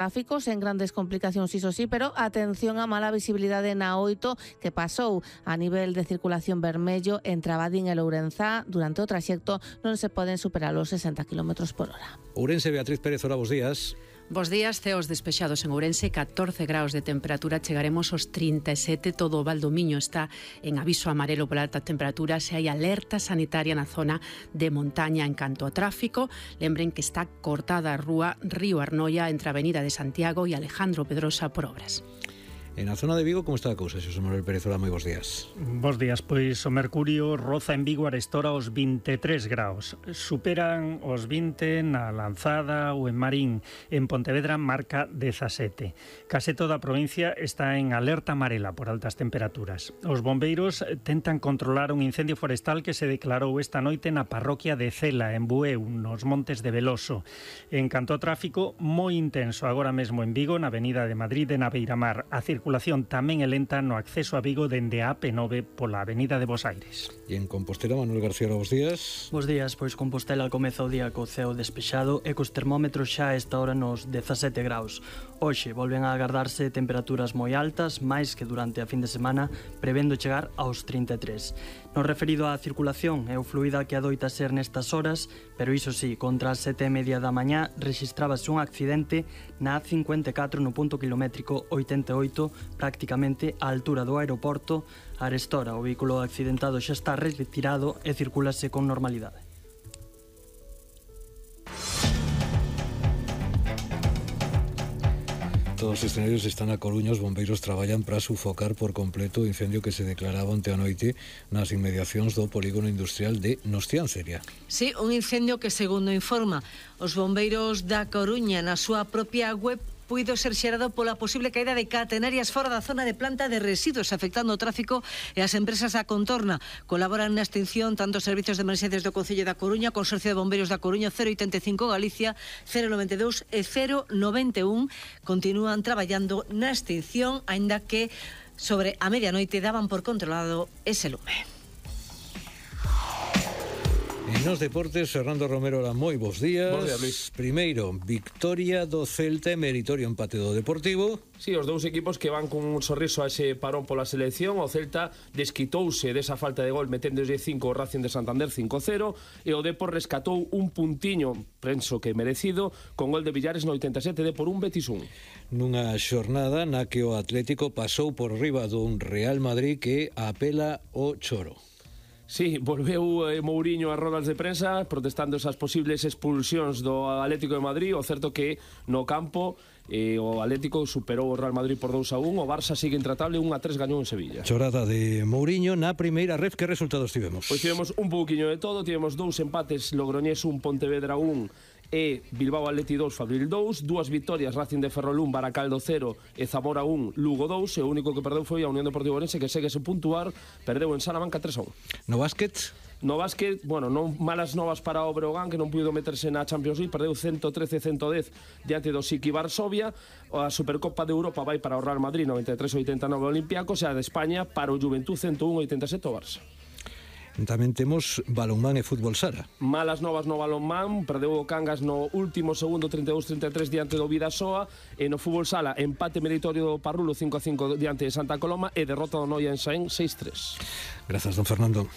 tráfico sen grandes complicacións, iso sí, pero atención a mala visibilidade na 8 que pasou a nivel de circulación vermello entre Abadín e Lourenzá. Durante o traxecto non se poden superar os 60 km/h. Ourense, Beatriz Pérez, hola, bos días. Bos días, ceos despexados en Ourense, 14 graus de temperatura, chegaremos aos 37, todo o Val do Miño está en aviso amarelo pola alta temperatura, se hai alerta sanitaria na zona de montaña en canto a tráfico. Lembren que está cortada a rúa Río Arnoia entre a Avenida de Santiago e Alejandro Pedrosa por obras. En a zona de Vigo, como está a cousa, Xosé Manuel Pérez? Hola, moi bos días. Bos días, pois o mercurio roza en Vigo arestora os 23 graus. Superan os 20 na Lanzada ou en Marín. En Pontevedra marca 17. Case toda a provincia está en alerta amarela por altas temperaturas. Os bombeiros tentan controlar un incendio forestal que se declarou esta noite na parroquia de Cela, en Bueu, nos Montes de Veloso. En canto ao tráfico, moi intenso agora mesmo en Vigo, na Avenida de Madrid e na Beiramar. A circulación tamén é lenta no acceso a Vigo dende a AP9 pola Avenida de Bos Aires. E en Compostela, Manuel García, bos días. Bos días, pois Compostela comeza o día co ceo despexado e cos termómetros xa a esta hora nos 17 graus. Hoxe volven a agardarse temperaturas moi altas, máis que durante a fin de semana, prevendo chegar aos 33. No referido á circulación, é o fluida que adoita ser nestas horas, pero iso sí, contra as 7:30 da mañá rexistrábase un accidente na A54 no punto kilométrico 88, prácticamente á altura do aeroporto. Arestora, o vehículo accidentado xa está retirado e circúlase con normalidade. Todos os escenarios están a Coruña. Os bombeiros traballan para sufocar por completo o incendio que se declaraba onte a noite nas inmediacións do polígono industrial de Nostiánceria. Sí, un incendio que, segundo informa os bombeiros da Coruña na súa propia web, puido ser xerado pola posible caída de catenarias fora da zona de planta de residuos, afectando o tráfico e as empresas da contorna. Colaboran na extinción tanto os servicios de emerxencias do Concello da Coruña, Consorcio de Bombeiros da Coruña, 085 Galicia, 092 e 091. Continúan traballando na extinción, aínda que sobre a medianoite daban por controlado ese lume. En nos deportes, Fernando Romero, la moi bos días. Bos días, Luis. Primeiro, victoria do Celta e meritorio empate do Deportivo. Sí, os dous equipos que van con un sorriso a ese parón pola selección. O Celta desquitouse desa falta de gol metendoslle 5 o Racing de Santander 5-0 e o Depor rescatou un puntiño, penso que merecido, con gol de Villares no 87 de por un Betis 1. Nunha xornada na que o Atlético pasou por riba dun Real Madrid que apela o choro. Sí, volveu Mourinho a rodas de prensa protestando esas posibles expulsións do Atlético de Madrid. O certo que no campo o Atlético superou o Real Madrid por 2-1. O Barça sigue intratable, 1-3 gañou en Sevilla. Chorada de Mourinho na primeira ref. Que resultados tivemos? Pois tivemos un pouquiño de todo. Tivemos 2 empates, Logroñés 1, Pontevedra 1 e Bilbao Atleti 2, Fabril 2, 2 victorias, Racing de Ferrol 1, Baracaldo 0 e Zamora 1, Lugo 2, e o único que perdeu foi a Unión Deportiva Ourense, que segue sen puntuar, perdeu en Salamanca 3-1. No básquet? No básquet, bueno, non malas novas para o Breogán, que non puido meterse na Champions League, perdeu 113-110 diante do Siki Varsovia. A Supercopa de Europa vai para o Real Madrid 93-89 Olympiacos, e a de España para o Juventud 101-87 o Barça. Tamén temos balonmán e fútbol sala. Malas novas no balonmán, perdeu o Cangas no último segundo 32-33 diante do Vidasoa, e no fútbol sala empate meritorio do Parrulo 5-5 diante de Santa Coloma e derrota do Noia en Saén 6-3. Grazas, don Fernando.